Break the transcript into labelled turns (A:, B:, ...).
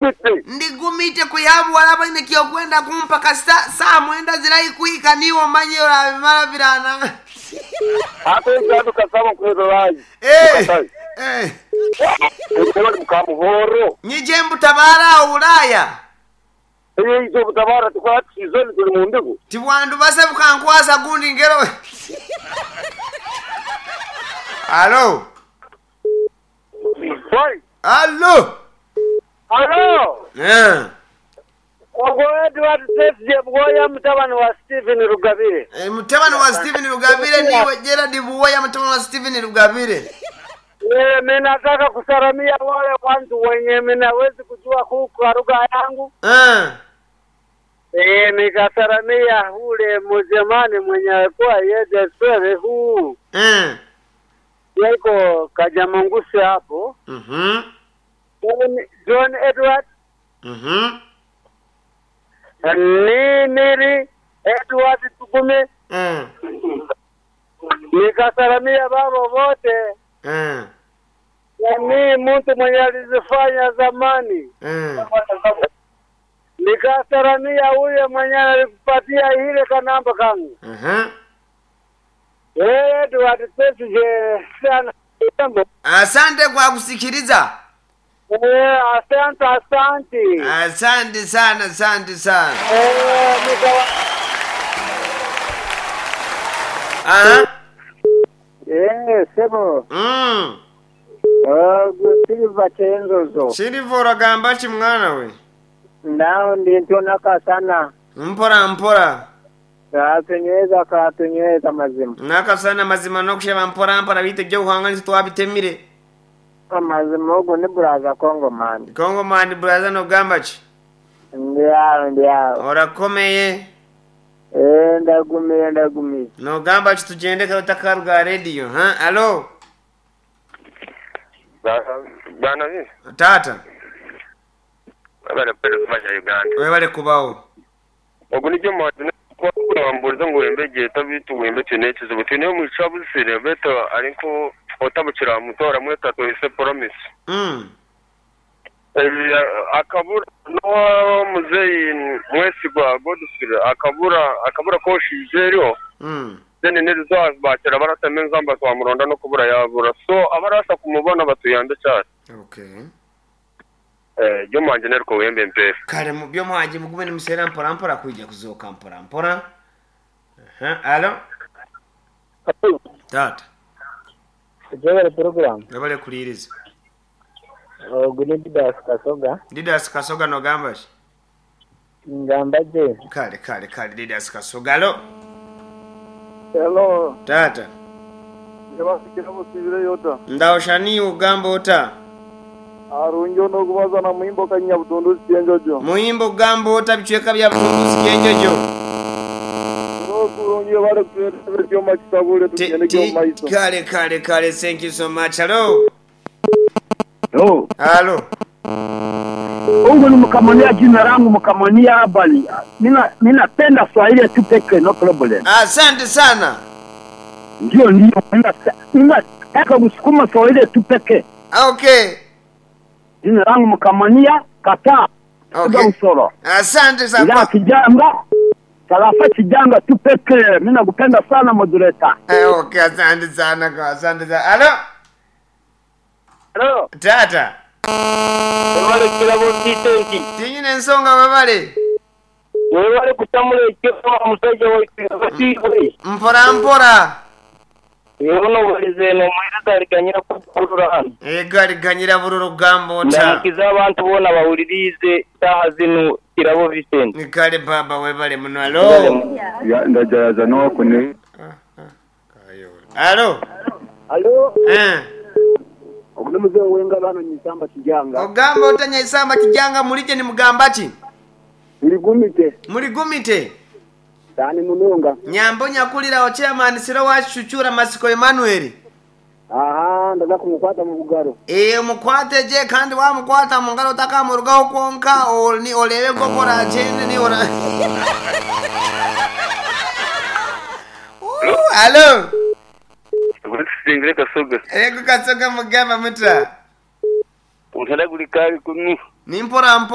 A: Ndi gumite kwiha buwala baine kyokwenda kumpa kasita saa mwenda zirahi kuhika niiwe omanye orabimara birana.
B: Ate Edward Kasaba nkuheererayo
A: Eh,
B: Mukatayi.
A: eh.
B: Ebali mukamuhoro.
A: Nyije mbutabara awo Bulaya.
B: Eyo butabara tukwata sizoni tuli mu ndigo.
A: Tibwandubase bukankwasa gundi ngero. Alo.
B: Wai.
A: Alo.
B: Alo.
A: Eh.
B: Ogwo Edward Sefje Bwoya mutabani wa Stephen Rugabire.
A: Eh, mutabani wa Stephen Rugabire niwe Gerard Buwoya mutabani wa Stephen Rugabire.
B: Eh, mimi nataka kusalamia wale watu wenye minawezi kujua huku lugha yangu.
A: Eh.
B: Eh, nikasalamia ule mzemani mwenye alikuwa yeye sere huu.
A: Eh.
B: Yako Kajamangusi hapo.
A: Mhm.
B: John Edward
A: Mhm.
B: Nimiri Edward Tugume
A: Eh.
B: nikasalamia baba wote
A: Eh.
B: ni mtu mwenye alizifanya zamani.
A: Eh.
B: Nikasalamia huyo mwenye alikupatia ile kanamba kangu.
A: Mhm.
B: Eh, Edward Pesije sana.
A: Asante kwa kusikiliza.
B: Eh, asante asante.
A: Asante sana, asante sana.
B: Eh, nikawa
A: Aha.
B: Eh, sebo.
A: Mm.
B: Silva Chenzozo.
A: Silva oragamba ki mwana we?
B: Ndao ndi nakasana.
A: Mpora mpora.
B: Katunyweza katunyweza mazima.
A: Nakasana mazima nokusheba mpora mpora bite byo twabitemire.
B: Amazima ogo ni buraza Congo man.
A: Congo man brother nogamba ki?
B: Ndiawo ndiawo.
A: Orakomeye.
B: Eh, ndagumiye ndagumiye.
A: Nogamba ki tugende kautakaruga radio, ha? Alo.
C: Bwana vi
A: Tata,
C: abana pere kubaja Uganda
A: webale kubawo.
C: ogu nijyo mwadine kwamburiza ngu wembe geta bitu wembe tine ekizibu tine omwica busire beto ariko otabukira mutora mweta twese promise
A: Mm.
C: Eh, akabura no muzeyi mwesigwa Godfrey akabura akabura koshije eriho
A: Mm.
C: then nirizo bakira baratema enzamba twamuronda no kubura yabura so abarasa kumubona batuyambe cyane
A: Okay.
C: eh ryo mwanje neriko wembe mpere
A: Kale mu byo mwanje mugume nimuseera mpora mpora kwijja kuzooka mpora mpora. Aha, alo. Tata,
B: Jewel program.
A: webale kuliiriza.
B: Ogu ni Didas Kasoga.
A: Didas Kasoga nogamba ki?
B: Ngamba je.
A: Kale kale kale Didas Kasoga alo.
B: Hello.
A: Tata,
B: Njabafikira busibire yota.
A: ndaoshani ugamba ota.
B: Arunjo nokubaza na muhimbo kanya butunduzi chenjojo.
A: Muhimbo ugamba ota bicweka bya butunduzi kyenjojo.
B: Nokurungi bale kutuletera kyoma kisabule
A: Ti-
B: tugende
A: ti-
B: kyoma iso.
A: Kale kale kale thank you so much. Hello.
D: Yo,
A: Halo.
D: Mungu ni mkamonia jina langu mkamonia habari. Mina minapenda Swahili tu peke no problem.
A: Asante sana.
D: Ndio ndio mina nataka kusukuma Swahili tu peke.
A: Okay.
D: Jina langu mkamonia kata.
A: Okay.
D: Usoro.
A: Asante
D: Ila
A: sana.
D: kijanga tarafa kijanga tu peke. Mimi nakupenda sana moderator.
A: Eh, okay, asante sana kwa asante sana. Halo.
B: Hello.
A: Tata.
B: Wale kirabo kitenti.
A: Tinyine ensonga webale.
B: Wale kutamula ekyo musajja waitu.
A: Mpora mpora.
B: Yono walize no mwira tariganyira kukurura hano.
A: Egali ganyira bururu gamba ota.
B: Ndamukiza abantu bona bawulirize saha zino kirabo Vincent.
A: Kale baba webale muno. Halo.
E: ndajayaza nokune
A: Halo.
D: Halo,
A: Eh.
D: ogune mzee wenga bano nyisamba kijanga.
A: Ogamba otanya isamba kijanga mulije ni mugamba ki?
D: Niligumite
A: Muligumite.
D: tani munonga.
A: Nyambo nyakulira chairman siro wa Chuchura Masiko Emmanuel.
D: Aha, ndaza kumukwata mu bugaro.
A: Eh mukwate je kandi wamukwata mu ngalo takamurugaho kwonka ni olebe kokora chende ni ora. Ooh, Halo.
C: Singire Kasoga
A: Ego kasoga mugamba muta.
C: untara guri kari kumi.
A: Ni mpora mpora.